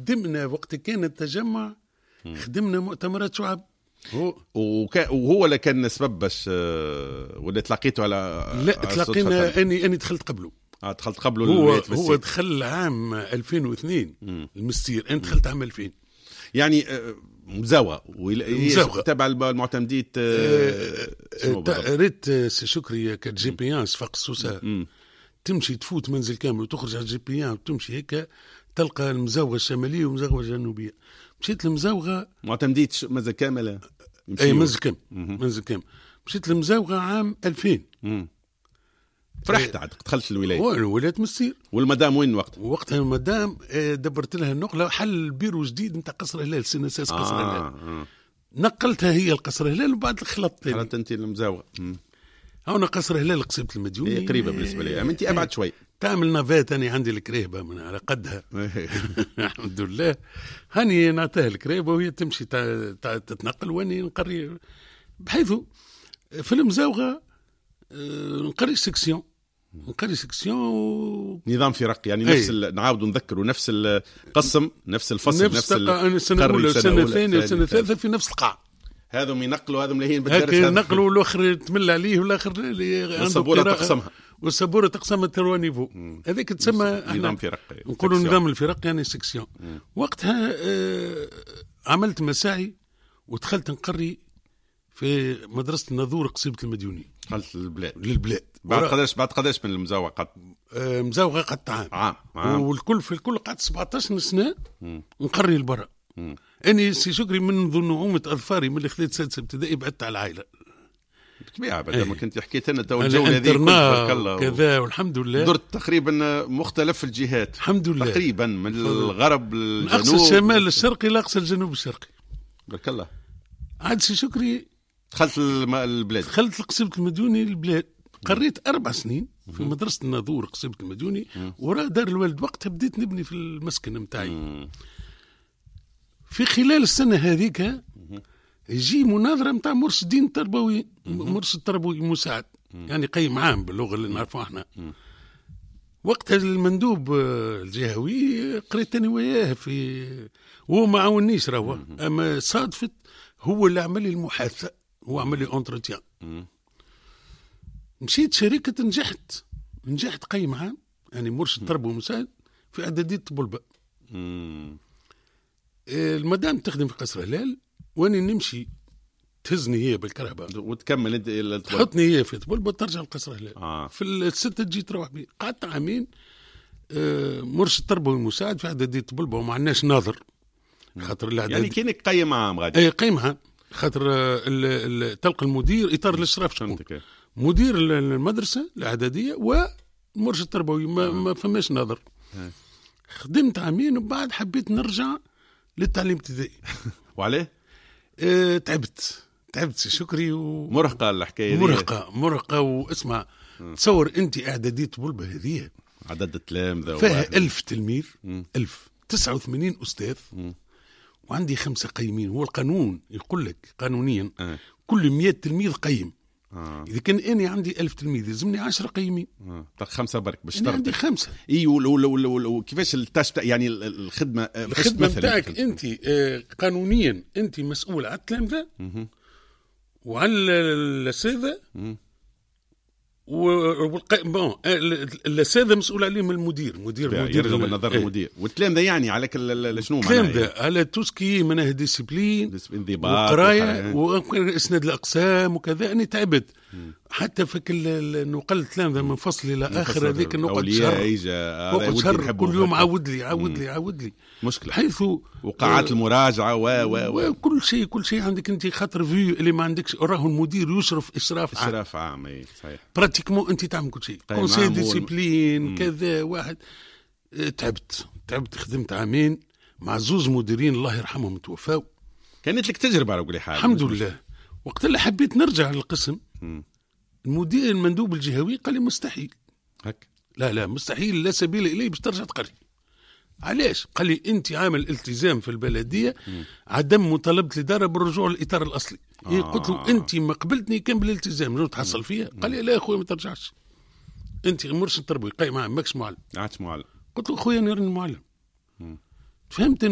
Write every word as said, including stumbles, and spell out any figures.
خدمنا وقت كان التجمع، خدمنا مؤتمرات شعب. هو وكا وهو اللي كان سبب باش آه، ولا تلاقيته على لا، تلاقينا، اني اني دخلت قبله. اه، دخلت قبله. هو هو دخل عام ألفين واثنين المستير، انا دخلت عام ألفين. يعني آه، مزاوغه. مزاوغه تبع المعتمدية. آه، آه ريت سي شكري، كانت GP un صفاقس سوسه، تمشي تفوت منزل كامل وتخرج على GP un وتمشي هيك تلقى المزاوغه الشمالية والمزاوغه الجنوبيه. مشيت للمزاوغه. معتمديه منزل كامل. اي، منزل كامل، منزل كامل. مشيت للمزاوغه عام ألفين. مم. فرحت عاد دخلت الولايه. ولاية مستير. والمدام وين وقت؟ وقتها المدام آه، دبرت لها النقله، حل بيرو جديد نتاع قصر هلال، CNSS قصر آه هلال. آه. نقلتها هي القصر هلال وبعد خلطت. خلطت انت المزاوغه. هنا قصر هلال قصيبة المديوني. إيه، قريبه بالنسبة لي، انت ابعد شوي. تعمل navette، انا عندي الكريهبه من على قدها الحمد لله، هاني نعطيها الكريهبه وهي تمشي تتنقل واني نقري، بحيث في المزاوغه آه، نقري section، نقري section و... نظام فرق يعني نفس ال... نعاودوا نذكروا نفس القسم، نفس الفصل. نفس, نفس السنة الاولى والسنة الثانية والسنة الثالثة في نفس القاعه. هذم ينقلوا، هذم لاهين بالدرس. ينقلوا، والاخر تمل عليه، والاخر والسبوره تقسمها. والسبوره تقسمها trois niveaux، هذيك تسمى نظام فرق. نقولوا نظام الفرق، يعني section. وقتها آه عملت مساعي ودخلت نقري في مدرسة الناظور قصيبة المديوني. دخلت للبلاد. للبلاد. بعد قداش بعد قداش من المزاوغة قد؟ آه مزاوغة قعدت عام. عام عام. والكل في الكل قعدت سبعطاش سنة نقري البرا. اني سي شكري منذ نعومة اظفاري، من اللي خذيت سادسة ابتدائي، بعدت على العائلة. بالطبيعه، بعد ما كنت حكيت لنا تو الجولة هذه. تبارك الله كذا والحمد لله. درت تقريبا مختلف الجهات. الحمد لله. تقريبا من الغرب للجنوب، من اقصى الشمال الشرقي لاقصى الجنوب الشرقي. بارك الله. عاد سي شكري دخلت البلاد. دخلت لقصيبة المديوني البلاد، قريت أربع سنين في مدرسة الناظور قصيبة المديوني وراء دار الوالد. وقتها بديت نبني في المسكن نتاعي. في خلال السنة هذيك يجي مناظرة نتاع مرشدين التربوي، مرشد تربوي مساعد، يعني قيم عام باللغة اللي نعرفوها احنا. وقتها المندوب الجهوي قريت انا وياه في وهو ما عاونيش راهو، اما صادفت هو اللي عمل لي المحادثه، هو عمل لي entretien. مشيت شركة، نجحت نجحت قيم عام، يعني مرشد تربوي مساعد في اعدادية طبلبة. المدام تخدم في قصر هلال واني نمشي، تهزني هي بالكرهبة. وتكمل انت. تحطني هي في طبلبة وترجع لقصر هلال آه. في الستة تجي تروح بي. قعدت عامين آه، مرشد تربوي مساعد في اعدادية طبلبة وما عندناش ناظر خاطر الاعداد يعني كانك قيم عام غادي. اي، قيم عام، خاطر آه، تلقى المدير اطار الاشراف شكون؟ مدير المدرسة الاعدادية ومرشد تربوي، ما, آه. ما فماش ناظر. خدمت عامين وبعد حبيت نرجع للتعليم الابتدائي. وعليه؟ اه تعبت تعبت شكري و... مرهقة الحكاية. مرهقة مرهقة. واسمع، تصور انت اعدادية طبلبة هذه عدد التلامذة فيها ألف تلميذ، ألف، تسعة وثمانين أستاذ مم. وعندي خمسة قيمين. هو القانون يقول لك قانونيا أه. كل مية تلميذ قيم. آه. اذا كان انا عندي ألف تلميذ يلزمني عشرة قيمين. آه. خمسة برك باش انا عندي خمسه. اي، وكيفاش ال tâche، يعني الخدمه؟ آه، الخدمة نتاعك انت آه، قانونيا انت مسؤول على التلامذه وعلى الاساتذة و bon الاساتذة مسؤول عليهم المدير، مدير مدير يرجع بالنظر المدير. والتلامذه يعني على شنو؟ معناها التلامذه على tout ce qui معناها discipline انضباط. وقرايه واسناد الاقسام وكذا. اني تعبت حتى في نقل التلامذه من فصل الى اخر، هذيك نقعد شهر، نقعد شهر، كل يوم عاود لي عاود لي عاود لي. مشكله. حيث وقاعات المراجعة و و و كل شيء، كل شيء عندك انت، خاطر vu اللي ما عندكش راهو المدير يشرف اشراف عام. اشراف عام، اي صحيح. pratiquement انت تعمل كل شيء، conseil discipline كذا واحد. اه، تعبت تعبت، خدمت عامين مع زوز مديرين الله يرحمهم توفاو. كانت لك تجربه على كل حال. الحمد لله. وقت اللي حبيت نرجع للقسم، المدير المندوب الجهوي قال لي مستحيل. هك. لا لا، مستحيل، لا سبيل اليه باش ترجع تقري. علاش؟ قال لي انت عامل التزام في البلدية عدم مطالبه الادارة بالرجوع للاطار الاصلي. آه. إيه، قلت له انت ما قبلتني كان بالالتزام شنو تحصل فيها؟ قال لي لا يا خويا، ما ترجعش، انت مرشد تربوي قايم عام، ماكش معلم. عادش معلم. قلت له خويا انا راني معلم. فهمت.